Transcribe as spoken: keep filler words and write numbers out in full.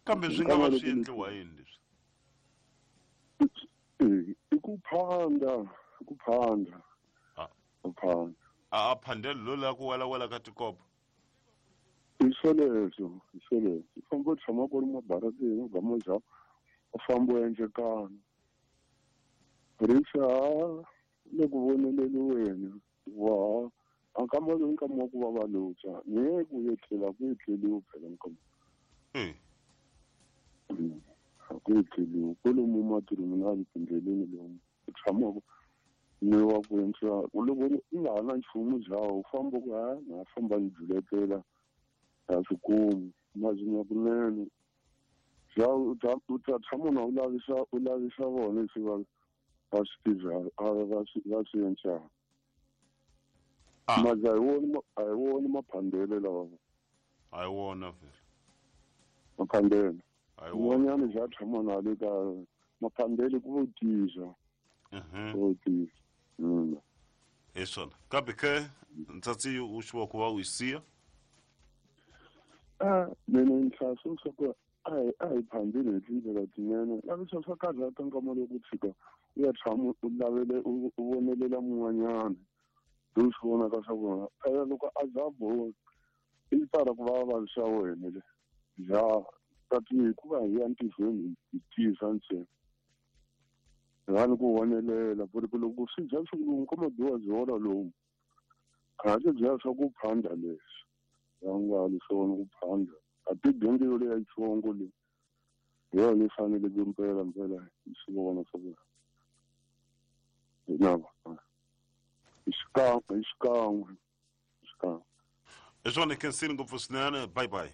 Kambe swi nga va swi endliwa yini leswi? I ku phanda, i ku phanda. Ku phanda. A a phandeli lo la ku wela-wela ka tikopo. I swoleswo, i swoleswo. U famba u tshama ku ri mabarateni u gama ja u famba u endlekana. Rixa le ku voneleliweni wa a nkama lowu nkama wa ku va va lutsa ni ye ku etlela ku etleliwi phela nkama. Mm. A ku etleliwi kwalomu matirhweni na le tindleleni lomu u tshamaka ni wa ku endla loko u nga ha na nchumu byawo u famba ku ha na famba ni juletela a swi kumi mazinya kunene bya u ta u ta tshama na u lavisa u lavisa vona leswi va va swi tivaka va swi va swi endlaka. Mazi a hi wona a hi wona maphandele lawa. A hi wona vhele. Maphandele. A hi wona. Un'wanyana bya tshama na le ka maphandele ku vo tisa. Mhm. Ku vo tisa. Mm. Hi swona. Kambe ke ntsatsi u xiwa ku va u yi siya? Ah, mina ni hlaya swa ku a hi a hi phandile hi tindlela tinene. Lavisa swa karhata nkama loko u tshika u ya tshama u lavele u vonelela mun'wanyana. Lowu swi vonaka swa vona. Phela loko a za boha i tala ku va vavisa wena le. Ja tati hikuva hi ya ntirhweni hi tisa ntsena. Rhani ku vonelela ku ri ku loko swi dya swi lomu ka mabiwa byi lomu. Kahle bya swa ku phanda leswi. Ya nga li swona ku phanda. A ti dyondzi yo leya yitsongo leyi. Hi yona yi fanele ku mpela mpela hi swi vona swa ku hi na va. Hi xikan'we, hi xikan'we, hi xikan'we. Hi swona khensini ngopfu swinene. Bye bye.